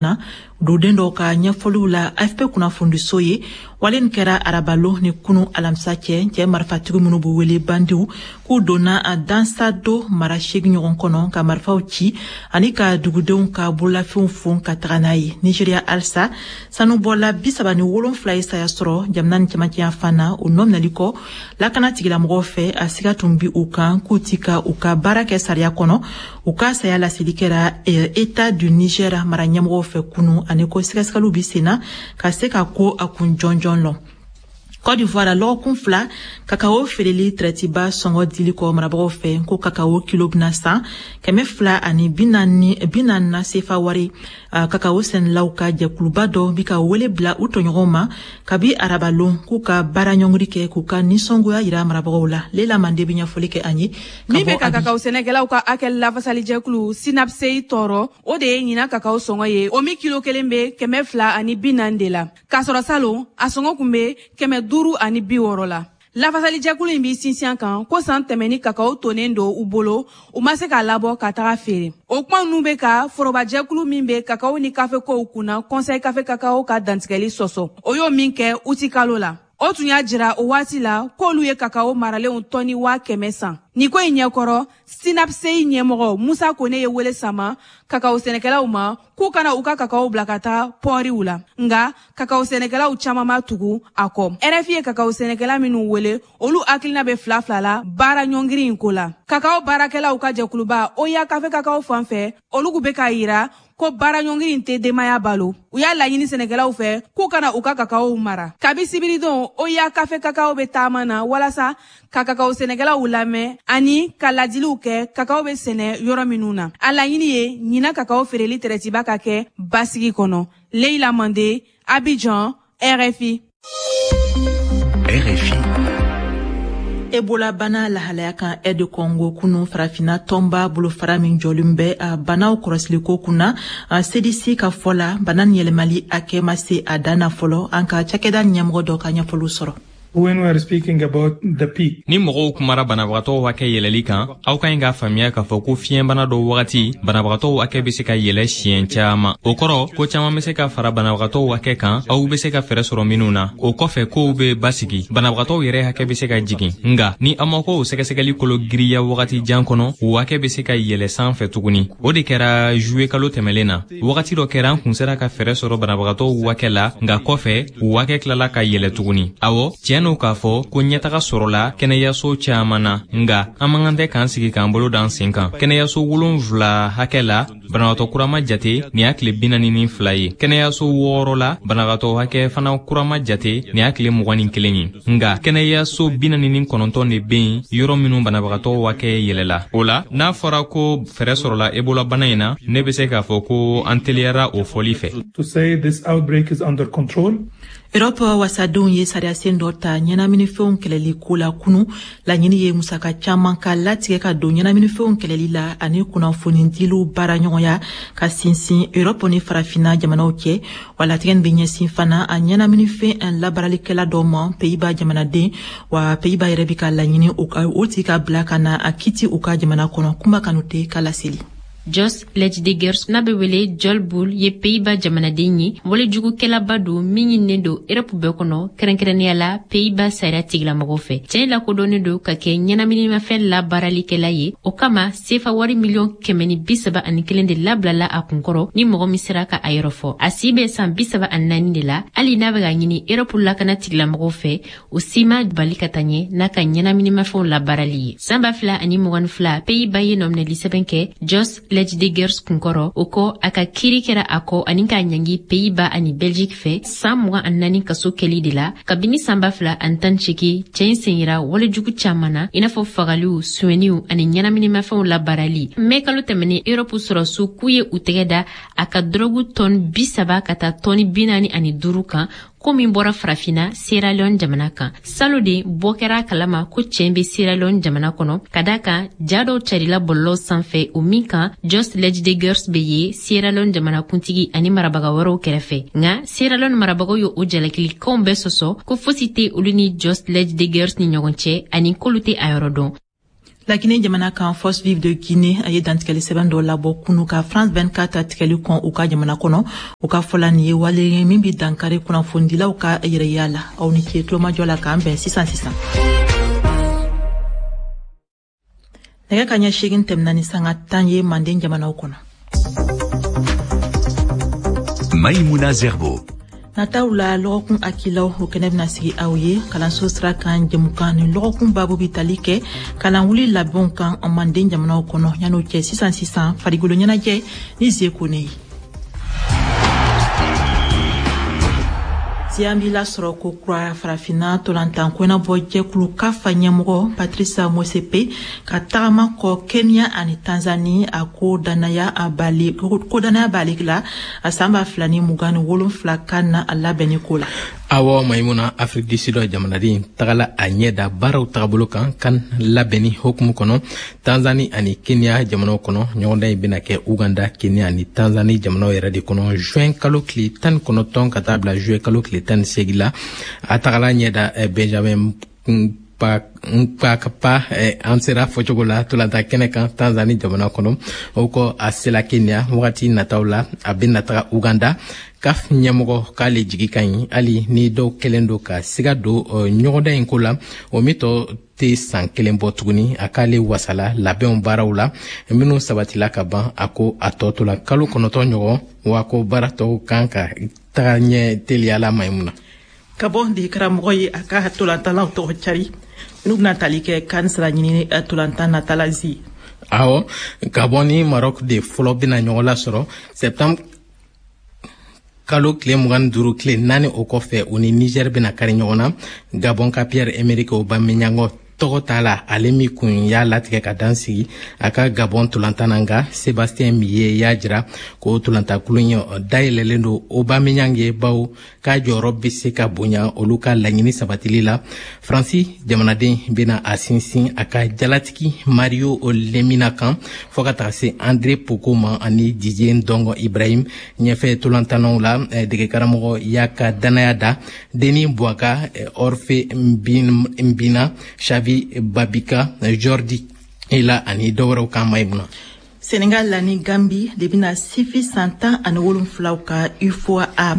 Na duden dɔw ka ɲɛfɔliw la AFP kunnafonidiso ye, wale nin kɛra arabalon ni kunu alamisa cɛ. Cɛ marifatigi minnu b'u wele bandiw, k'u donna a Dansado mara 8 ɲɔgɔn kɔnɔ ka marifaw ci ani ka dugudenw ka bololafɛnw fon ka taga n'a ye. Nigeria halisa, sanubɔla 37 ye saya sɔrɔ jamana ni cɛmancɛya fan na, o nɔ minɛli kɔ lakana tigilamɔgɔw fɛ. A siga tun bi u kan k'u ti ka u ka baara kɛ sariya kɔnɔ. U ka saya laseli kɛra État du Niger mara ɲɛmɔgɔw fɛ kunu, ani ko sɛgɛsɛgɛliw bi senna ka se ka ko a kun jɔnjɔn lɔn. Côte d'Ivoire, lɔgɔkun 2 kakao feereli tɛrɛtiba sɔngɔ dili kɔ marabagaw fɛ, ko kakao kilo bɛna san 240 na sefa wari, kakao sɛnɛlaw ka jɛkuluba dɔ bi ka wele bila u tɔɲɔgɔnw ma kabi arabalon k'u ka baara ɲɔngiri kɛ, k'u ka nisɔngoya yira marabagaw la. Lela Mande bɛ ɲɛfɔli kɛ an ye. Min bɛ ka kakao sɛnɛkɛlaw ka hakɛ lafasalijɛkulu SYNAPCEI tɔɔrɔ, o de ye ɲinan kakao sɔngɔ ye, o min kilo kelen bɛ 240 de la, k'a sɔrɔ salon a sɔngɔ kun bɛ 560 la. Lafasalijɛkulu in b'i sinsin kan ko san tɛmɛni kakao tonnen don u bolo, u ma se k'a labɔ ka taga feere. O kuma ninnu bɛ ka forobajɛkulu min bɛ kakao ni kafekow kunna, Conseil Café Cacao, ka dantigɛli sɔsɔ. O y'o min kɛ uti kalo la, o tun y'a jira o waati la k'olu ye kakao maralenw tɔni 100 000 san. Nin ko in ɲɛkɔrɔ, SYNAPCEI ɲɛmɔgɔ Musa Kone ye wele sama kakao sɛnɛkɛlaw ma k'u kana u ka kakao bila ka taa pɔriw la. Nga kakao sɛnɛkɛlaw caman ma tugu a kɔ. RFI ye kakao sɛnɛkɛla minnu wele, olu hakilina bɛ fila fila la baara ɲɔngiri in ko la. Kakao baarakɛlaw ka jɛkuluba OUA Café Cacao fan fɛ, olu bɛ k'a yira ko baara ɲɔngiri in tɛ denbaya balo. U y'a laɲini sɛnɛkɛlaw fɛ k'u kana u ka kakaow mara. Kabi sibiridon, OUA Café Cacao bɛ taama na walasa ka kakao sɛnɛkɛlaw lamɛn ani ka ladiliw kɛ kakao bɛ sɛnɛ yɔrɔ minnu na. A laɲini ye ɲinan kakao feereli tɛrɛtiba ka kɛ basigi kɔnɔ. Leila Mande, Abidjan, RFI. RFI. Ebola bana lahalaya kan RD Congo, kunu Farafina tɔnba bolofara min jɔlen bɛ a banaw kɔrɔsiliko kunna, CDC ka fɔ la, bana nin yɛlɛmali hakɛ ma se a dan na fɔlɔ. An ka cakɛda ɲɛmɔgɔ dɔ ka ɲɛfɔliw sɔrɔ. When we are speaking about the peak, Ni mɔgɔw kumara banabagatɔw hakɛ yɛlɛli kan, aw ka ɲi k'a faamuya k'a fɔ ko fiɲɛbana dɔ wagati, banabagatɔw hakɛ bɛ se ka yɛlɛ siɲɛ caaman. O kɔrɔ ko caaman bɛ se ka fara banabagatɔw hakɛ kan, aw bɛ se ka fɛɛrɛ sɔrɔ minnu na. O kɔfɛ, kow bɛ basigi, banabagatɔw yɛrɛ hakɛ bɛ se ka jigin. Nga ni aw ma ko o sɛgɛsɛgɛli kolo giriya wagati jan kɔnɔ, o hakɛ bɛ se ka yɛlɛ san fɛ tuguni. O de kɛra juwe kalo tɛmɛlen na. Wagati dɔ kɛra, an kun sera ka fɛɛrɛ sɔrɔ banabagatɔw hakɛ la, nka kɔfɛ u hakɛ tilala ka yɛlɛ tuguni. Awɔ, tiɲɛ n'o k'a fɔ ko ɲɛtaga sɔrɔla kɛnɛyaso caaman na, nga an man kan tɛ k'an sigi k'an bolo d'an sen kan. Kɛnɛyaso 7 hakɛ la, banabagatɔ kura ma jate nin y'a tile 42 ye. Kɛnɛyaso 6 la, banabagatɔ hakɛ fana kura ma jate nin y'a tile 21 ye. Nga kɛnɛyaso 49 de bɛ yen, yɔrɔ minnu banabagatɔ hakɛ yɛlɛla. O la, n'a fɔra ko fɛɛrɛ sɔrɔla Ebola bana in na, ne bɛ se k'a fɔ ko an teliyara o fɔli fɛ. To say this outbreak is under control. Europe wasadenw ye sariyasen dɔ ta ɲɛnaminifɛnw kɛlɛli ko la kunu. Laɲini ye musaka caaman ka latigɛ ka don ɲɛnaminifɛnw kɛlɛli la ani kunnafoni diliw baara ɲɔgɔnya ka sinsin Europe ni Farafina jamanaw cɛ. Wa latigɛ nin bɛ ɲɛsin fana a ɲɛnaminifɛn labaralikɛla dɔ ma, Pays-Bas jamanaden. Wa Pays-Bas yɛrɛ bi ka laɲini o tigi ka bila ka na a kiti u ka jamana kɔnɔ. Kuma Kanute ka laseli. Jos Leijdekkers, n'a bɛ wele John Bol, ye Pays-Bas jamanaden ye. Walejugukɛlaba don min ɲininen don Erɔpu bɛɛ kɔnɔ, kɛrɛnkɛrɛnnenya la Pays-Bas sariya tigilamɔgɔw fɛ. Cɛɛ lakodɔnnen don ka kɛ ɲɛnaminimafɛn labaaralikɛla ye. O kama, sefa wari miliyɔn 131 de labilala a kunkɔrɔ ni mɔgɔ min sera ka a yɔrɔ fɔ. A si bɛ san 34 de la. Hali n'a bɛ ka ɲini Erɔpu lakana tigilamɔgɔw fɛ, o si ma bali ka taa ɲɛ n'a ka ɲɛnaminimafɛnw labaarali ye. San 2022, Pays-Bas ye nɔminɛli sɛbɛn kɛ Jos Leijdekkers kunkɔrɔ. O kɔ, a ka kiiri kɛra a kɔ ani k'a ɲangi Pays-Bas ani Belgique fɛ san 24 kaso kɛli de la. Kabini san 2018, cɛɛ in sen yira walejugu caaman na, i n'a fɔ fagaliw, suɲɛniw ani ɲɛnaminimafɛnw labaarali. Mɛ kalo tɛmɛnen, Erɔpu sɔrɔsiw k'u ye u tɛgɛ da a ka dɔrɔgu tɔni 30 ka taa tɔni 45 kan, ko min bɔra Farafina Sierra Leone jamana kan. Salo de bɔ kɛra a kalama ko cɛɛ be Sierra Leone jamana kɔnɔ, ka da kan ja dɔw carila bɔlɔlɔw sanfɛ, o min kan Jos Leijdekkers be ye Sierra Leone jamana kuntigi ani marabaga wɛrɛw kɛrɛfɛ. Nka Sierra Leone marabagaw ye o jalakilikanw bɛɛ sɔsɔ, ko fosi tɛ olu ni Jos Leijdekkers ni ɲɔgɔn cɛ ani k'olu tɛ a yɔrɔ dɔn. Laginɛ jamana kan, Force Vive de Guinée a ye dantigɛli sɛbɛn dɔ labɔ kunu ka France 24 tigɛli kɔn u ka jamana kɔnɔ. U ka fɔla, nin ye wale ye min bi dankari kunnafonidilaw ka yɛrɛya la. Aw ni ce tulomajɔ la, k'an bɛn sisan sisan. Nɛgɛ ka ɲɛ 8 tɛmɛna ni sanga 10 ye manden jamanaw kɔnɔ. Maïmouna Zerbo. Nataw la, lɔgɔkun akilaw, o kɛnɛ bɛna sigi aw ye kalanso sira kan jɛmukan. Ni lɔgɔkun babu bi tali kɛ kalanwuli labɛnw kan manden jamanaw kɔnɔ. Yan'o cɛ, sisan sisan, farikolo ɲɛnajɛ ni ze kone ye. An b'i lasɔrɔ ko kura. Farafinna tolantan kɔnabɔ jɛkulu CAF ɲɛmɔgɔ Patrice Motsepe ka tagama kɔ Kenya ani Tanzanie, a ko danaya b'ale, ko danaya b'ale la a san 2027 kan na a labɛnni ko la. Awɔ Maimuna, Afrique du Sud jamanaden tagala a ɲɛ da baaraw tagabolo kan kan labɛnni hokumu kɔnɔ Tanzani ani Kenya jamanaw kɔnɔ. Ɲɔgɔndan in bɛna kɛ Uganda, Kenya ani Tanzani jamanaw yɛrɛ de kɔnɔ juin kalo tile 19 ka taa bila juin kalo tile 18 la. A tagala ɲɛ da Benjamin Mkapa, an sera fɔcogo la, tolanta kɛnɛ kan Tanzani jamana kɔnɔ. O kɔ, a sela Kenya. Wagati nataw la, a bɛna taga Uganda. CAF ɲɛmɔgɔ k'ale jigi ka ɲi, hali ni dɔw kɛlen don ka siga don ɲɔgɔndan in ko la, o min tɔ tɛ san kelen bɔ tuguni. A k'ale wasala labɛnw baaraw la minnu sabatila ka ban. A ko a tɔ tola kalo 9 ɲɔgɔn, wa ko baara tɔw kan ka taga ɲɛ teliya la, Maimuna. Ka bɔ de karamɔgɔ ye a ka tolantalaw tɔgɔ cari n'u bɛna tali kɛ kan sira ɲini tolantan natala zi. Awɔ, Gabon ni Maroc de fɔlɔ bɛna ɲɔgɔn lasɔrɔ septembre kalo tile 25. Tile 4 o kɔfɛ, u ni Niger bɛna kari ɲɔgɔn na. Gabon ka Pierre Emerick Aubameyang tɔgɔ t'a la, ale min kun y'a latigɛ ka dan sigi a ka Gabon tolantan na. Nka Sébastien Migné y'a jira ko tolantankulu in dayɛlɛlen don Aubameyang ye, bawo k'a jɔyɔrɔ bɛ se ka bonya olu ka laɲini sabatili la. Faransi jamanaden bɛna a sinsin a ka jalatigi Mario Lemina kan, fɔɔ ka taga se André Poko ma ani Didier Ndongo Ibrahim. Ɲɛfɛ tolantannaw la, degekaramɔgɔ y'a ka danaya da Denis Bouanga, Orphe Mbina, Xavi Babika, Jordi Ela ani dɔwɛrɛw kan, Maimuna. Senegal la ni Gambi de bɛna sifi san 17 ka UFOA A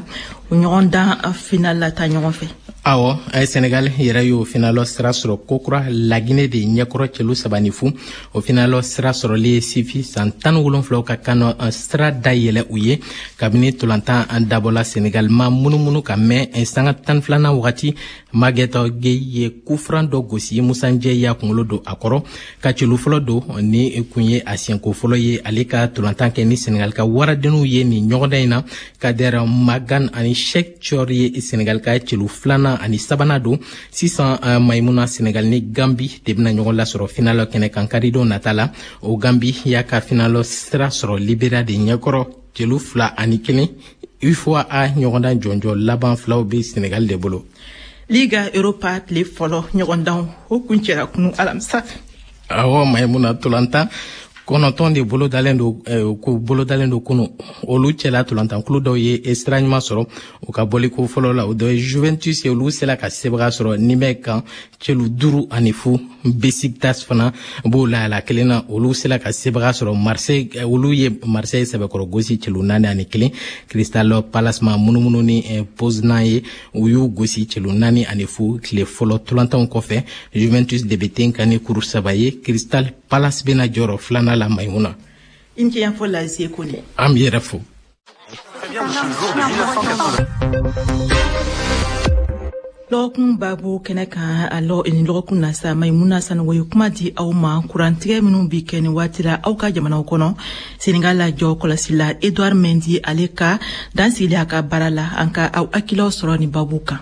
o ɲɔgɔndan final la ta ɲɔgɔn fɛ. Awɔ, Senegal yɛrɛ y'o finalɔ sira sɔrɔ kokura Laginɛ de ɲɛkɔrɔ cɛlu 3-0. O finalɔ sira sɔrɔli ye sifi san 17 ka kan sira dayɛlɛ u ye. Kabini tolantan dabɔla, Senegal ma munumunu ka mɛn. Sanga 12nan wagati, Maguette Gueye ye coup franc dɔ gosi, Musa Ndiaye y'a kunkolo don a kɔrɔ ka celu fɔlɔ don. Ni kun ye a siɲɛko fɔlɔ ye ale ka tolantan kɛ ni Senegal ka waradenninw ye nin ɲɔgɔndan in na. Kader Magan ani Cheikh Thior ye Senegal ka celu filanan ani sabanan don. Sisan Maimuna, Senegal ni Gambi de bɛna ɲɔgɔn lasɔrɔ finalɔ kɛnɛ kan karidon nata la. O Gambi y'a ka finalɔ sira sɔrɔ Liberia de ɲɛkɔrɔ celu 2-1. UFOA A ɲɔgɔndan jɔnjɔ laban filaw bɛ Senegal de bolo. Liga Europa tile fɔlɔ ɲɔgɔndanw, o kuncɛra kunu alamisa. Awɔ Maimuna, tolantan 9 de bolodalen don, ko bolodalen don kunu. Olu cɛla, tolantankulu dɔw ye sira ɲuman sɔrɔ u ka bɔliko fɔlɔ la. O dɔ ye Juventus ye, olu sela ka sebaga sɔrɔ Nimɛ kan celu 5-0. Besiktas fana b'o la kelen na, olu sela ka sebaga sɔrɔ Marseille, olu ye Marseille sɛbɛkɔrɔ gosi celu 4-1. Crystal Palace ma munumunu ni Poznan ye, u y'u gosi celu 4-0. Tile fɔlɔ tolantanw kɔfɛ, Juventus de bɛ ten kan ni kuru 3 ye. Crystal Palace bɛna jɔyɔrɔ filanan la, Maimuna. I ni ce yan fɔ Lazie Kone. An b'i yɛrɛ fo. Lɔgɔkun babu kɛnɛ kan a lɔ ni lɔgɔkun na sa, Maimuna Sanogo ye kuma di aw ma kurantigɛ minnu bi kɛ nin waati la aw ka jamanaw kɔnɔ. Senegal la jɔ kɔlɔsi la Edouard Mendy, ale ka dansigili a ka baara la. An ka aw hakilaw sɔrɔ nin babu kan.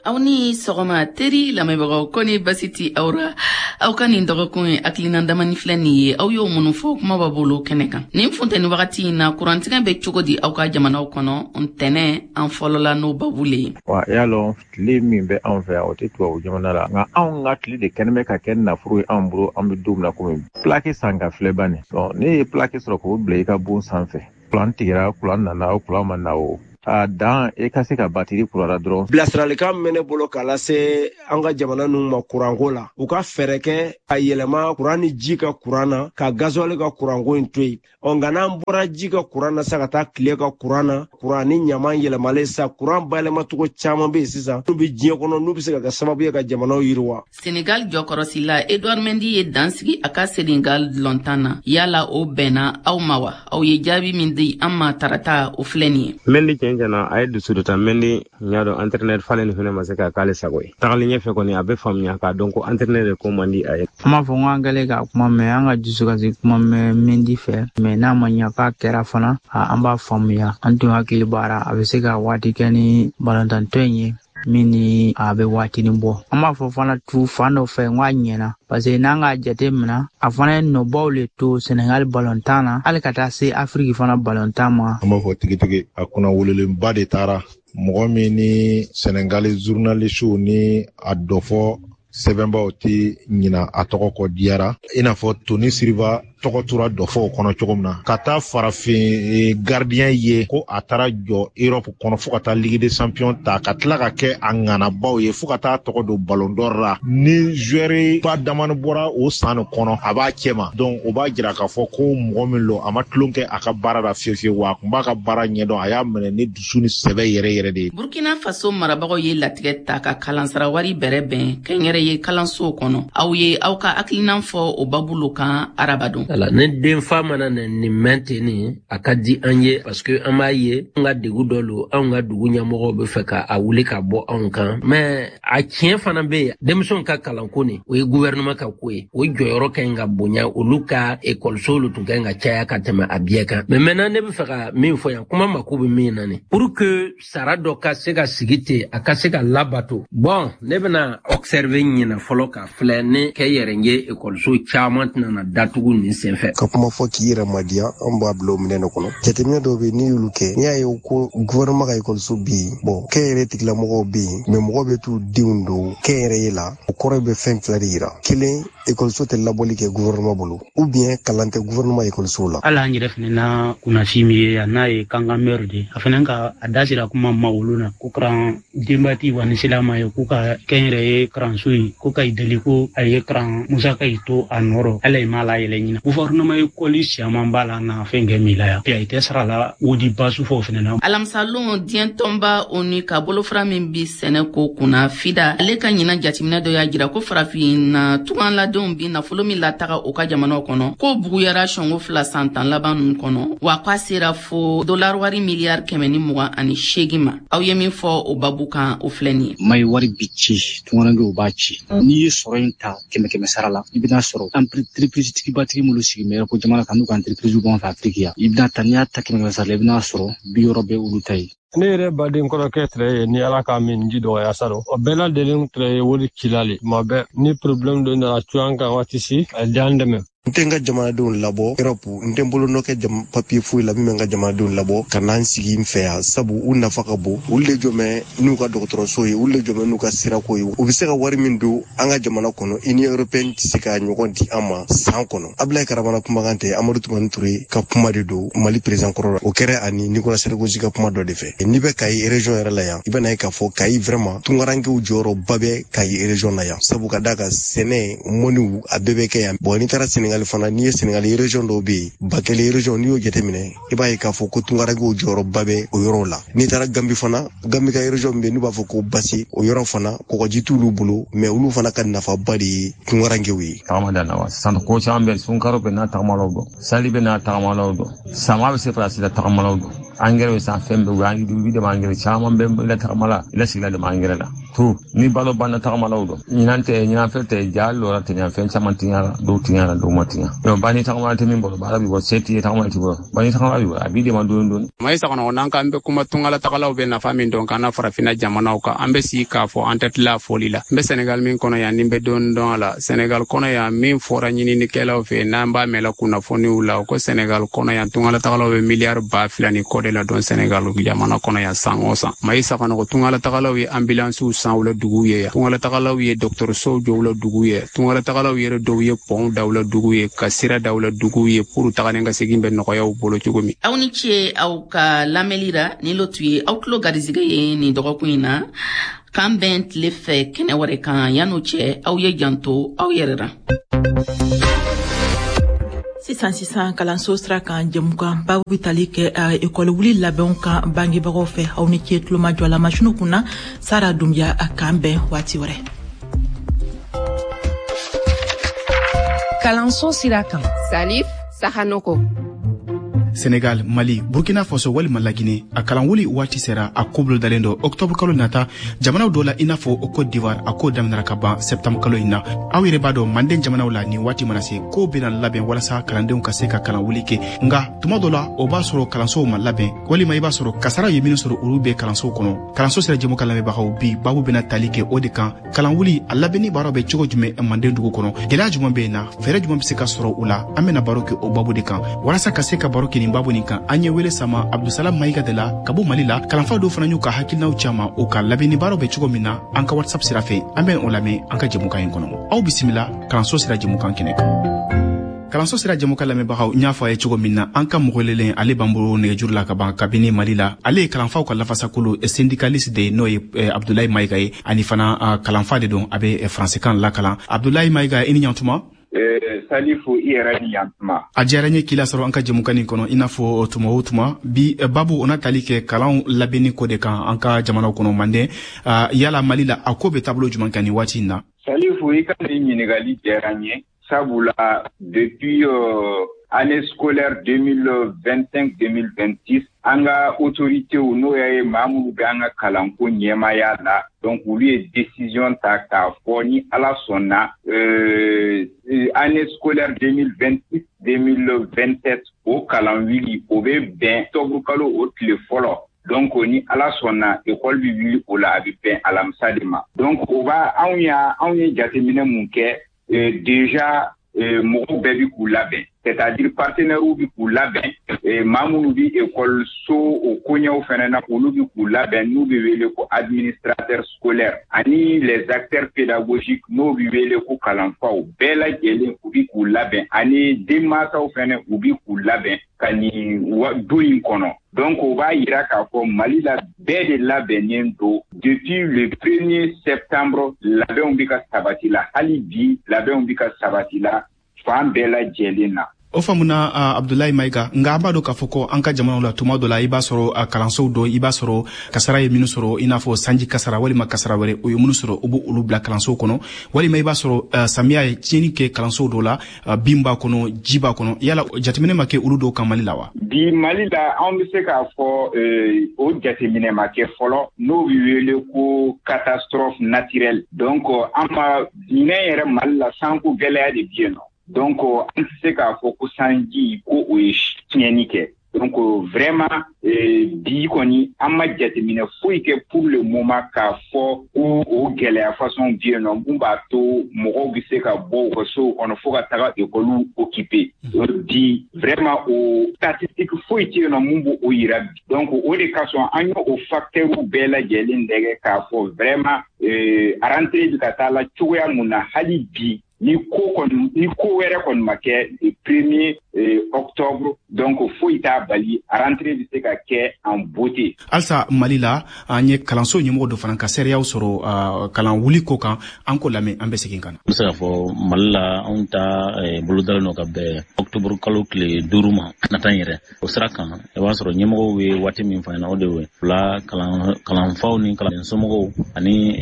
Aw ni sɔgɔma teri lamɛnbagaw, ko ni basi ti aw ra. Aw ka nin dɔgɔkun ye hakilina damani filɛ nin ye, aw y'o minnu fɔ kuma b'a bolo kɛnɛ kan. Nin funteni wagati in na, kurantigɛ bɛ cogo di aw ka jamanaw kɔnɔ? Ntɛnɛ an fɔlɔla n'o babu le ye. Wa i y'a lɔn, tile min bɛ anw fɛ yan, o tɛ tubabu jamana la, nka anw ka tile de kɛnɛ bɛ ka kɛ nafolo ye anw bolo. An bɛ don min na komi plaque san ka filɛ ban nin, ne ye plaque sɔrɔ k'o bila i ka bon sanfɛ, kuran tigɛra, kuran nana o, kuran ma na o. A dan e ka se ka batiri kurara dɔrɔn. Bilasiralikan min bɛ ne bolo k'a lase an ka jamana ninnu ma kuranko la, u ka fɛɛrɛ kɛ a yɛlɛma kuran ni ji ka kuran na, ka gazuwali ka kuranko in to yen. Ɔ nka n'an bɔra ji ka kuran na sa ka taa tile ka kuran na, kuran ni ɲaman yɛlɛmalen sa, kuran bayɛlɛmacogo caman bɛ yen sisan n'u bɛ diɲɛ kɔnɔ, n'u bɛ se ka kɛ sababu ye ka jamanaw yiriwa. Senegal jɔkɔrɔsila Edouard Mendy ye dan sigi a ka Senegal lɔntan na. Yala o bɛnna aw ma wa? Aw ye jaabi min di an ma tarata, o filɛ nin ye. Mendy tiɲɛ tiɲɛna, a ye dusu dɔ ta. Mendy, n y'a dɔn entraîneur falen nin fɛnɛ ma se ka k'ale sago ye. Tagalen ɲɛfɛ kɔni, a bɛ faamuya k'a dɔn ko entraîneur de ko man di a ye. An b'a fɔ ko an kɛlen ka kuma mɛn, an ka dusukasi kuma mɛn Mendy fɛ, mais n'a ma ɲa k'a kɛra fana, an b'a faamuya. An tun hakili b'ara a bɛ se ka waati kɛ ni balɔntantɔ in ye min ni a bɛ waatinin bɔ. An b'a fɔ fana tu fan dɔ fɛ n k'a ɲɛna, parce que n'an k'a jate minɛ, a fana ye nɔbaw le to Senegal balɔntan na, hali ka taa se Afiriki fana balɔntan ma. An b'a fɔ tigitigi, a kunna wololenba de taara, mɔgɔ min ni Senegali journalistew ni a dɔfɔ sɛbɛnbaw tɛ ɲina a tɔgɔ kɔ diyara, i n'a fɔ Tony Siriba tɔgɔ tora dɔfɔw kɔnɔ cogo min na, ka taa farafin gardien ye ko a taara jɔ Europe kɔnɔ fo ka taa Ligue des Champions ta, ka tila ka kɛ a ŋanabaw ye fo ka taa tɔgɔ don Ballon d'Or la. Ni joueur ba damani bɔra o san nin kɔnɔ, a b'a cɛ ma. Donc o b'a jira k'a fɔ ko mɔgɔ min lo, a ma tulon kɛ a ka baara la fiyewu fiyewu, wa a kun b'a ka baara ɲɛdɔn, a y'a minɛ ni dusu ni sɛbɛ yɛrɛ yɛrɛ de ye. Burkina Faso marabagaw ye latigɛ ta ka kalansara wari bɛrɛ bɛn kɛnyɛrɛye kalansow kɔnɔ. Aw ye aw ka hakilinan fɔ o babu lo kan arabadon. Ala ni denfa mana na nin mɛn ten, nin a ka di an ye, parce que an b'a ye an ka degu dɔ lo, anw ka dugu ɲɛmɔgɔw bɛ fɛ ka a wuli ka bɔ anw kan. Mais a tiɲɛ fana bɛ yen, denmisɛnw ka kalanko nin, o ye gouvernement ka ko ye, o jɔyɔrɔ ka ɲi ka bonya. Olu ka ekɔlisow lu tun ka ɲi ka caya ka tɛmɛ a bɛɛ kan. Mais maintenant, ne bɛ fɛ ka min fɔ yan, kuma mako bɛ min na nin, pour que sara dɔ ka se ka sigi ten, a ka se ka labato, bon, ne bɛna observer ɲinɛ fɔlɔ ka filɛ ne kɛ yɛrɛ ye, ekɔliso caman tɛna na datugu nin senfɛ. Ka kuma fɔ k'i yɛrɛ madiya, an b'a bila o minɛn de kɔnɔ. Jateminɛ dɔw bɛ, n'i y'olu kɛ, n'i y'a ye ko gouvernement ka ekɔliso bɛ yen, bon, kɛnyɛrɛ tigilamɔgɔw bɛ yen, mais mɔgɔ bɛ t'u denw don kɛnyɛrɛye la, o kɔrɔ bɛ fɛn fila de yira: kelen, ekɔliso tɛ labɔli kɛ gouvernement bolo, ou bien kalan tɛ gouvernement ekɔliso la. Hali an yɛrɛ fɛnɛ na kunnasi min ye yan, n'a ye Kankan maire de, a fɛnɛ ka a da sera kuma ma olu na ko karan denbati wa ni silama ye k'u ka kɛnyɛrɛye karanso ye, ko ka i deli ko a ye karan musaka yi to a nɔrɔ, hali i m'a layɛlɛ ɲina. Gouvernement ekɔli siaman b'a la na fɛn kɛ min la yan, a tɛ sara la wodi basu fɔ fɛnɛ na. Alamisalon, diɲɛ tɔnba ONU ka bolofara min bi sɛnɛ ko kunna, FIDA, ale ka ɲinan jateminɛ dɔ y'a jira ko farafinna tunganladenw bi nafolo min lataga u ka jamanaw kɔnɔ, k'o buguyara sɔngo 2 san 10 laban ninnu kɔnɔ, wa k'a sera fo dolari wari miliyari 128 ma. Aw ye min fɔ o babu kan, o filɛ nin ye. Mayi wari bi ci, tungarankew b'a ci. N'i ye sɔrɔ in ta kɛmɛ kɛmɛ sara la, i bɛna sɔrɔ entreprise tigibatigi minnu sigi bɛ ko jamana kan, n'u ka entreprise b'an fɛ Afiriki yan, i bɛna ta, n'i y'a ta kɛmɛ kɛmɛ sara la, i bɛna sɔrɔ 60 bɛ olu ta ye. Ne yɛrɛ baden kɔrɔkɛ tɛrɛ ye, ni Ala ka min ji dɔgɔya saro, o bɛɛ lajɛlen tɛrɛ ye wari cila le tuma bɛɛ. Ni problème dɔ nana cu an kan waati si, a d'an dɛmɛ. N tɛ n ka jamanadenw labɔ Europe, n tɛ n bolo nɔ kɛ papiye foyi la min bɛ n ka jamanadenw labɔ ka n'an sigi n fɛ yan, sabu u nafa ka bon. Olu de jɔmɛ n'u ka dɔgɔtɔrɔso ye, olu de jɔmɛ n'u ka sirako ye. U bɛ se ka wari min don an ka jamana kɔnɔ, Union européenne tɛ se ka ɲɔgɔn di an ma san kɔnɔ. Abulayi Karabana kumakan tɛ, Amadu Tumani Ture ka kuma de don, Mali président kɔrɔ la. O kɛra ani Nicolas Sarkozy ka kuma dɔ de fɛ. N'i bɛ Kayi région yɛrɛ la yan, i bɛna ye k'a fɔ Kayi vraiment tunkarankew jɔyɔrɔba bɛ Kayi région na yan, sabu ka d'a kan sɛnɛ, mɔniw, a bɛɛ bɛ kɛ yan. Bon, n'i taara Sénégal fana, n'i ye Sénégal région dɔw bɛ yen, Bakɛli région, n'i y'o jateminɛ, i b'a ye k'a fɔ ko tunkarankew jɔyɔrɔba bɛ o yɔrɔw la. N'i taara Gambi fana, Gambi ka région min bɛ yen n'u b'a fɔ ko Basi, o yɔrɔ fana kɔgɔji t'olu bolo, mais olu fana ka nafaba de ye tunkarankew ye. Tagama da na wa sisan, ko caman bɛ, sunkaro bɛ n'a tagamalaw dɔn, sali bɛ n'a tagamalaw dɔn, sama bɛ se Faransi la tagamalaw dɔn, angɛrɛ bɛ san, fɛn bɛɛ u bɛ dɛmɛ, angɛrɛ caman bɛ la tagama la, i la sigila dɛmɛ angɛrɛ la to ni balo banna tagamalaw dɔn. Ɲinan tɛ, ɲinan fɛn tɛ ja lɔra tɛ, fɛn caman tiɲara, dɔw tiɲara, dɔw ma tiɲa. Donc ba ni tagama tɛ min bolo, baara b'i bɔ, se t'i ye, tagama t'i bolo, ba ni tagama b'i bolo, a b'i dɛmɛ dɔɔni dɔɔni. Mayi Sakɔnɔgɔ, n'an k'an bɛ kuma tungalatagalaw bɛ nafa min dɔn k'an na farafinna jamanaw kan, an bɛ sigi k'a fɔ, an tɛ tila fɔli la. N bɛ Sɛnɛgali min kɔnɔ yan, ni n bɛ dɔɔni dɔn a la, Sɛnɛgali kɔnɔ yan, min fɔra ɲininikɛlaw fɛ, n'an b'a mɛn la kunnafoniw la, ko Sɛnɛgali kɔnɔ yan, tungalatagalaw bɛ miliyari 2000 ni kɔ de la dɔn Sɛnɛgali jamana kɔnɔ yan san o san. Mayi Sakɔnɔgɔ, tungalatagalaw ye ambulansiw san. san u la dugu ye yan. Tungalatagalaw ye dɔgɔtɔrɔsow jɔ u la dugu ye. Tungalatagalaw yɛrɛ dɔw ye pɔnw da u la dugu ye, ka sira da u la dugu ye pour tagalen ka segin bɛ nɔgɔya u bolo cogo min. Aw ni ce aw ka lamɛnli ra. Nin lo tun ye aw tulo garizigɛ ye nin dɔgɔkun in na. K'an bɛn tile fɛ kɛnɛ wɛrɛ kan. Yan'o cɛ, aw ye janto aw yɛrɛ ra. Sisan kalanso sira kan jɛmukan babu bɛ tali kɛ ekɔli wuli labɛnw kan bangebagaw fɛ. Aw ni ce tulomajɔ la masiniw kunna. Sara Dunbiya, a k'an bɛn waati wɛrɛ. Kalanso sira kan, Salif Sahanoko. Senegal, Mali, Burkina Faso walima Lagine, a kalanwuli waati sera, a ko bolodalen don octobre kalo nata. Jamanaw dɔ la, i n'a fɔ Côte d'Ivoire, a ko daminɛra ka ban septembre kalo in na. Aw yɛrɛ b'a dɔn, manden jamanaw la, nin waati mana se, ko bɛna labɛn walasa kalandenw ka se ka kalanwuli kɛ. Nka tuma dɔ la, o b'a sɔrɔ kalansow ma labɛn, walima i b'a sɔrɔ kasara ye minnu sɔrɔ, olu bɛ kalansow kɔnɔ. Kalanso sira jɛmukan lamɛnbagaw, bi babu bɛna tali kɛ o de kan. Kalanwuli a labɛnni baaraw bɛ cogo jumɛn manden dugu kɔnɔ? Gɛlɛya jumɛn bɛ yen na? Fɛɛrɛ jumɛn bɛ se ka sɔrɔ o la? An bɛna baro kɛ o babu de kan. Walasa ka se ka baro kɛ nin babu nin kan, an ye wele sama Abdusalam Mayiga de la ka bɔ Mali la. Kalanfa dɔw fana y'u ka hakilinaw caman u ka labɛnni baaraw bɛ cogo min na an ka WhatsApp sira fɛ. An bɛ o lamɛn an ka jɛmukan in kɔnɔ. Aw bisimila kalanso sira jɛmukan kɛnɛ kan. Kalanso sira jɛmukan lamɛnbagaw, n y'a fɔ a ye cogo min na, an ka mɔgɔ welelen ale b'an bolo nɛgɛjuru la ka ban kabini Mali la. Ale ye kalanfaw ka lafasakulu syndicaliste de ye, n'o ye Abdulayi Mayiga ye, ani fana kalanfa de don, a bɛ faransikan lakalan. Abdulayi Mayiga, i ni ɲantuma. Salifu, i yɛrɛ ni yantuma. A diyara n ye k'i lasɔrɔ an ka jɛmukan nin kɔnɔ. I n'a fɔ tuma o tuma, bi babu o na tali kɛ kalanw labɛnni ko de kan an ka jamanaw kɔnɔ manden. Yala Mali la, a ko bɛ taabolo jumɛn kan nin waati in na? Salifu, i ka nin ɲininkali diyara n ye, sabula depuis année scolaire 2025-2026, an ka autorités, n'o ye maa minnu bɛ an ka kalanko ɲɛmaya la, donc olu ye décision ta k'a fɔ ni Ala sɔnna, année scolaire 2026-2027, o kalan wuli o bɛ bɛn octobre kalo o tile fɔlɔ. Donc ni Ala sɔnna, école bɛ wuli o la, a bɛ bɛn alamisa de ma. Donc o b'a anw y'a anw ye jateminɛ mun kɛ déjà, mɔgɔw bɛɛ bi k'u labɛn, c'est-à-dire partenaires bi k'u labɛn, maa minnu bi école so o koɲɛw fɛnɛ na, olu bi k'u labɛn, n'u bɛ wele ko administrateur scolaire, ani les acteurs pédagogiques, n'o bi wele ko kalanfaw, bɛɛ lajɛlen u bi k'u labɛn, ani denmansaw fɛnɛ, u bi k'u labɛn ka nin don in kɔnɔ. Donc o b'a yira k'a fɔ Mali la, bɛɛ de labɛnnen don. Depuis le 1er septembre, labɛnw bi ka sabati la. Hali bi, labɛnw bi ka sabati la fan bɛɛ lajɛlen na. O faamuna, Abdulayi Mayiga. Nka an b'a dɔn k'a fɔ ko an ka jamanaw la, tuma dɔ la, i b'a sɔrɔ kalansow dɔ, i b'a sɔrɔ kasara ye minnu sɔrɔ, i n'a fɔ sanji kasara walima kasara wɛrɛ, o ye minnu sɔrɔ, u b'olu bila kalansow kɔnɔ, walima i b'a sɔrɔ samiya ye tiɲɛni kɛ kalansow dɔ la, bin b'a kɔnɔ, ji b'a kɔnɔ. Yala jateminɛ ma kɛ olu dɔw kan Mali la wa? Bi Mali la, anw bɛ se k'a fɔ o jateminɛ ma kɛ fɔlɔ, n'o bɛ wele ko catastrophe naturelle. Donc an ma ɲinɛ yɛrɛ, Mali la, sanko gɛlɛya de bɛ yen nɔ. Donc an tɛ se k'a fɔ ko sanji ko o ye tiɲɛni kɛ. Donc vraiment, bi kɔni, an ma jateminɛ foyi kɛ pour le moment k'a fɔ ko o gɛlɛya façon bɛ yen nɔ mun b'a to mɔgɔw bɛ se ka bɔ u ka sow kɔnɔ fo ka taga ekɔliw occuper. Bi vraiment, o statistique foyi tɛ yen nɔ mun b'o yira bi. Donc o de kosɔn an y'o o facteurs bɛɛ lajɛlen lajɛ k'a fɔ vraiment, rentrée bɛ ka taa la cogoya mun na. Hali bi, ni ko kɔni, ni ko wɛrɛ kɔni ma kɛ le 1er octobre, donc foyi t'a bali, rentrée bɛ se ka kɛ en beauté. Halisa Mali la, an ye kalanso ɲɛmɔgɔ dɔ fana ka seereyaw sɔrɔ kalan wuli ko kan. An ko lamɛn, an bɛ segin ka na. N bɛ se k'a fɔ Mali la, anw ta bolodalen don ka bɛn octobre kalo tile 5 ma nata in yɛrɛ. O sira kan, i b'a sɔrɔ ɲɛmɔgɔw ye waati min fɔ an ɲɛna, o de ye la kalanfaw ni kalanden somɔgɔw ani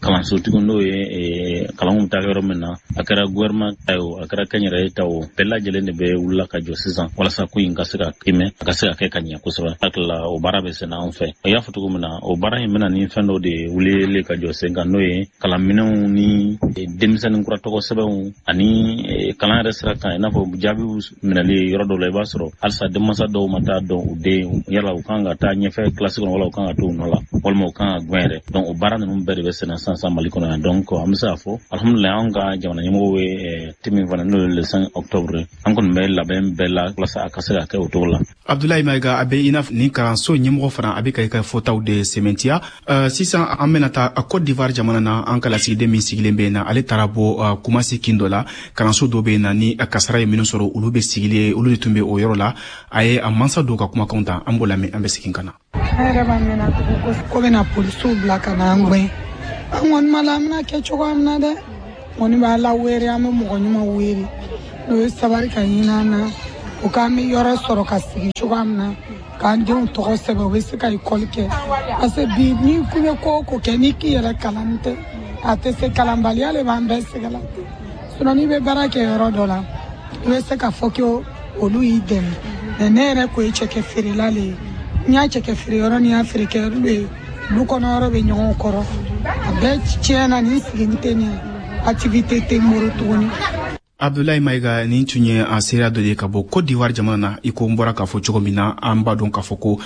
kalansotigiw, n'o ye kalanw bɛ taa yɔrɔ min na, a kɛra gouvernement ta ye o, a kɛra kɛnyɛrɛye ta o, bɛɛ lajɛlen de bɛ wulila ka jɔ sisan walasa ko in ka se ka kimɛ, a ka se ka kɛ ka ɲɛ kosɛbɛ. Hakili la, o baara bɛ senna anw fɛ. I y'a fɔ cogo min na, o baara in bɛna ni fɛn dɔ de wulili ka jɔ sen kan, n'o ye kalanminɛnw ni denmisɛnnin kura tɔgɔ sɛbɛnw ani kalan yɛrɛ sira kan, i n'a fɔ jaabiw minɛli yɔrɔ dɔw la. I b'a sɔrɔ halisa denmansa dɔw ma taa dɔn u den, yala u kan ka taa ɲɛfɛ kilasi kɔnɔ, wala u kan ka to u nɔ la, walima u kan ka gɛn yɛrɛ. Donc o baara ninnu bɛɛ de bɛ senna sisan Mali kɔnɔ yan. Donc an bɛ se k'a fɔ alhamdulilayi, anw ka jamana ɲɛmɔgɔw ye te min fana, n'o ye le 5 octobre, an kɔni bɛ labɛn bɛɛ la walasa a ka se ka kɛ o cogo la. Abdoulaye Maïga, a bɛ i n'a fɔ nin kalanso ɲɛmɔgɔ fana, a bɛ ka i ka fɔtaw de sɛmɛntiya. Sisan an bɛna taa Côte d'Ivoire jamana na. An ka lasigiden min sigilen bɛ yen na, ale taara bɔ Kumasi kin dɔ la, kalanso dɔ bɛ yen na ni kasara ye minnu sɔrɔ, olu bɛ sigilen, olu de tun bɛ o yɔrɔ la. A ye a mansa dɔw ka kumakanw ta, an b'o lamɛn, an bɛ segin ka na. An yɛrɛ b'a mɛnna tugun ko bɛna polisiw bila ka na an gɛn. An kɔni ma la, an bɛna kɛ cogoya min na dɛ, kɔni b'a la wele, an bɛ mɔgɔ ɲuman wele n'o ye sabari ka ɲini an na, o k'an bɛ yɔrɔ sɔrɔ ka sigi cogoya min na, k'an denw tɔgɔ sɛbɛn, u bɛ se ka ekɔli kɛ. Parce que bi, n'i ko bɛ ko o ko kɛ, n'i k'i yɛrɛ kalan tɛ, a tɛ se. Kalanbaliya de b'an bɛɛ sɛgɛn la. Sinon n'i bɛ baara kɛ yɔrɔ dɔ la, i bɛ se ka fɔ ko olu y'i dɛmɛ. Mais ne yɛrɛ ko ye cɛkɛ feerela le ye. N y'a cɛkɛ feere yɔrɔ ni y'a feere kɛ yɔrɔ ye, lu kɔnɔ yɔrɔ bɛ ɲɔgɔn kɔrɔ, a bɛɛ tiɲɛna. Nin sigi tɛ nin activité tɛ n bolo tuguni. Abdoulaye Maïga, nin tun ye a seereya dɔ de ka bɔ Côte d'Ivoire jamana na. I ko n bɔra k'a fɔ cogo min na, an b'a dɔn k'a fɔ ko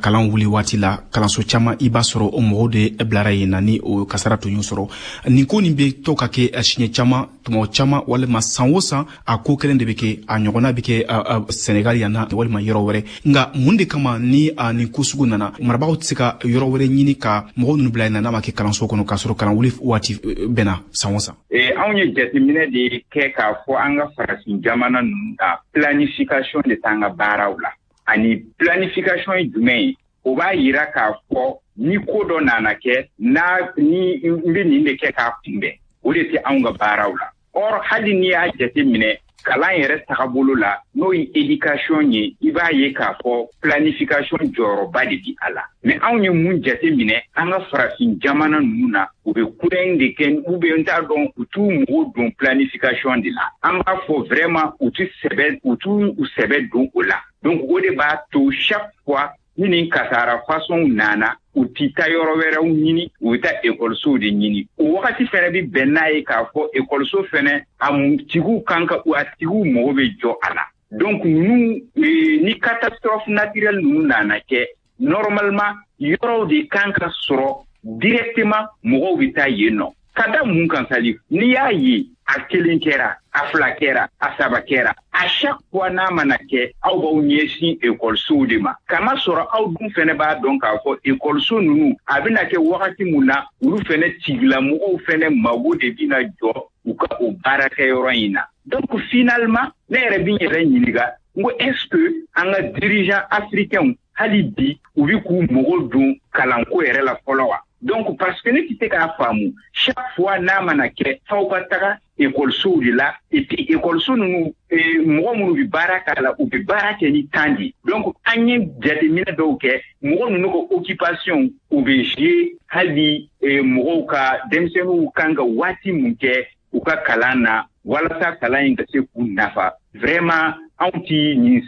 kalan wuli waati la, kalanso caman, i b'a sɔrɔ o mɔgɔw de bilara yen na ni o kasara tun y'u sɔrɔ. Nin ko nin bɛ to ka kɛ siɲɛ caman, tuma caman, walima san o san a ko kelen de bɛ kɛ. A ɲɔgɔnna bɛ kɛ Senegal yan na walima yɔrɔ wɛrɛ. Nka mun de kama ni nin ko sugu nana, marabagaw tɛ se ka yɔrɔ wɛrɛ ɲini ka mɔgɔw ninnu bila yen na, n'a ma kɛ kalanso kɔnɔ, k'a sɔrɔ kalan wuli waati bɛnna san o san? Anw ye jateminɛ de kɛ k'a fɔ an ka farafin jamana ninnu na, planification de t'an ka baaraw la. Ani planification ye jumɛn ye? O b'a yira k'a fɔ ni ko dɔ nana kɛ n'a ni n bɛ nin de kɛ k'a kunbɛn, o de tɛ anw ka baaraw la. Or hali n'i y'a jate minɛ kalan yɛrɛ tagabolo la, n'o ye éducation ye, i b'a ye k'a fɔ planification jɔyɔrɔba de bi a la. Mais anw ye mun jate minɛ an ka farafin jamana ninnu na? U bɛ kudayi de kɛ ou bien n t'a dɔn, u t'u mago don planification de la. An b'a fɔ vraiment u ti sɛbɛ, u t'u sɛbɛ don o la. Donc o de b'a to chaque fois ni nin kasara façon nana, u ti taa yɔrɔ wɛrɛw ɲini, u bɛ taa ekɔlisow de ɲini. O wagati fɛnɛ bɛ bɛn n'a ye k'a fɔ ekɔliso fɛnɛ a tigiw kan ka, a tigiw mago bɛ jɔ a la. Donc ninnu, ni catastrophe naturelle ninnu nana kɛ, normalement yɔrɔw de kan ka sɔrɔ directement, mɔgɔw bɛ taa yen nɔ. Ka da mun kan, Salif? N'i y'a ye a kelen kɛra, a fila kɛra, a saba kɛra, à chaque fois n'a mana kɛ, aw b'aw ɲɛsin ekɔlisow de ma. Kama sɔrɔ aw dun fɛnɛ b'a dɔn k'a fɔ ekɔliso ninnu a bɛna kɛ wagati mun na, olu fɛnɛ tigilamɔgɔw fɛnɛ mago de bɛna jɔ u ka o baarakɛyɔrɔ in na. Donc finalement ne yɛrɛ bɛ n yɛrɛ ɲininka, n ko est ce que an ka dirigeants africains, hali bi u bɛ k'u mago don kalanko yɛrɛ la fɔlɔ wa? Donc parce que ne tɛ se k'a faamu, chaque fois n'a mana kɛ, f'aw ka taga ekɔlisow de la. Et puis ekɔliso ninnu, mɔgɔ minnu bɛ baara k'a la, u bɛ baara kɛ ni temps de. Donc an ye jateminɛ dɔw kɛ, mɔgɔ ninnu ka occupation u bɛ jouer hali mɔgɔw ka denmisɛnninw kan ka waati mun kɛ u ka kalan na walasa kalan in ka se k'u nafa. Vraiment anw ti nin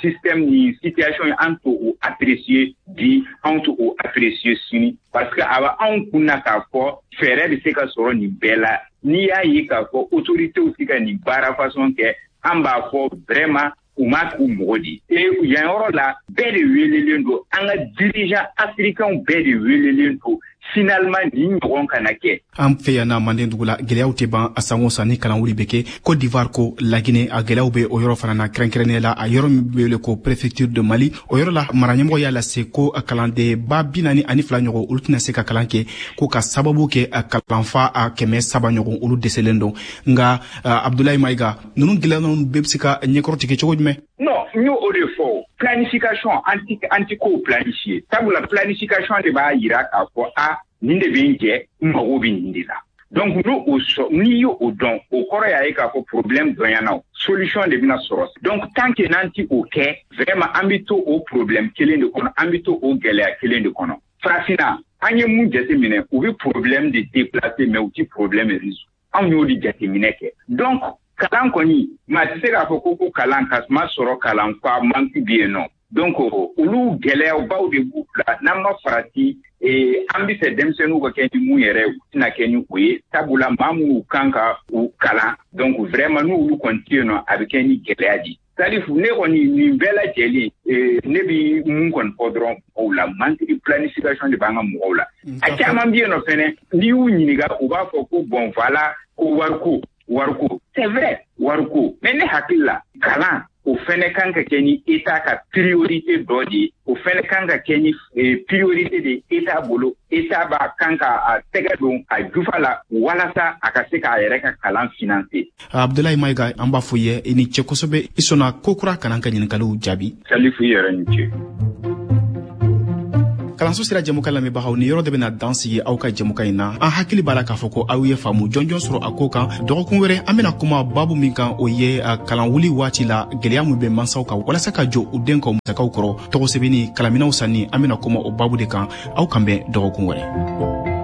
système, nin situation ye, an t'o o apprécier bi, anw t'o o apprécier sini, parce que a bɛ anw kun na k'a fɔ fɛɛrɛ bɛ se ka sɔrɔ nin bɛɛ la. N'i y'a ye k'a fɔ autorités ti ka nin baara façon kɛ, an b'a fɔ vraiment u ma k'u mɔgɔ di. E yan yɔrɔ la, bɛɛ de welelen don, an ka dirigeants africains bɛɛ de welelen don, finalement nin ɲɔgɔn kana kɛ. An fɛ yan na Manden dugu la, gɛlɛyaw tɛ ban a san o san ni kalanwuli bɛ kɛ. Côte d'Ivoire ko Laginɛ, a gɛlɛyaw bɛ o yɔrɔ fana na, kɛrɛnkɛrɛnnenya la a yɔrɔ min bɛ wele ko préfecture de Mali. O yɔrɔ la, mara ɲɛmɔgɔ y'a lase ko kalanden 42,000 ɲɔgɔn, olu tɛna se ka kalan kɛ, ko ka sababu kɛ kalanfa a 300 ɲɔgɔn, olu dɛsɛlen don. Nka Abdoulaye Maïga, ninnu gɛlɛya ninnu bɛɛ bɛ se ka ɲɛkɔrɔtigɛ cogo jumɛn? Non, n y'o o de fɔ, planification, an ti kow planifier, sabula planification de b'a yira k'a fɔ a nin de bɛ n jɛ, n mago bɛ nin de la. Donc n'o o sɔrɔ, n'i y'o o dɔn, o kɔrɔ y'a ye k'a fɔ problème dɔnyana, o solution de bɛna sɔrɔ. Donc tant que n'an ti o kɛ, vraiment an bɛ to o problème kelen de kɔnɔ, an bɛ to o gɛlɛya kelen de kɔnɔ. Farafinna, an ye mun jateminɛ? U bɛ problème de déplacer, mais u ti problème résoudre. Anw y'o de jateminɛ kɛ. Donc kalan kɔni, maa tɛ se k'a fɔ ko kalan ka ma sɔrɔ, kalan fa manque bɛ yen nɔ. Donc olu gɛlɛyabaw de b'u bila. N'an ma farati, an bɛ fɛ denmisɛnninw ka kɛ ni mun yɛrɛ, u tɛna kɛ ni o ye, sabula maa minnu kan ka u kalan, donc vraiment n'olu kɔni tɛ yen nɔ, a bɛ kɛ ni gɛlɛya di. Salifu, ne kɔni nin bɛɛ lajɛlen, ne bi mun kɔni fɔ dɔrɔn mɔgɔw la, manque de planification de b'an ka mɔgɔw la. A caman bɛ yen nɔ fɛnɛ, n'i y'u ɲininka, u b'a fɔ ko bon voilà, ko wariko wariko. C'est vrai, wariko, mais ne hakili la, kalan o fɛnɛ kan ka kɛ ni État ka priorité dɔ de ye. O fɛnɛ kan ka kɛ ni priorité de État bolo. État b'a kan ka a tɛgɛ don a jufa la walasa a ka se k'a yɛrɛ ka kalan financer. Abdulayi Mayiga, an b'a fɔ ye i ni ce kosɛbɛ, i sɔnna ko kura ka n'an ka ɲininkaliw jaabi. Salifu, i yɛrɛ ni ce. Kalanso sira jɛmukan lamɛnbagaw, ni yɔrɔ de bɛna dan sigi aw ka jɛmukan in na. An hakili b'a la k'a fɔ ko aw ye faamu jɔnjɔn sɔrɔ a ko kan. Dɔgɔkun wɛrɛ, an bɛna kuma babu min kan, o ye kalan wuli waati la gwɛlɛya min bɛ mansaw kan walasa ka jɔ u den ka musakaw kɔrɔ, tɔgɔ sɛbɛnni, kalanminɛw sanni. An bɛna kuma o babu de kan. Aw kan bɛn dɔgɔkun wɛrɛ.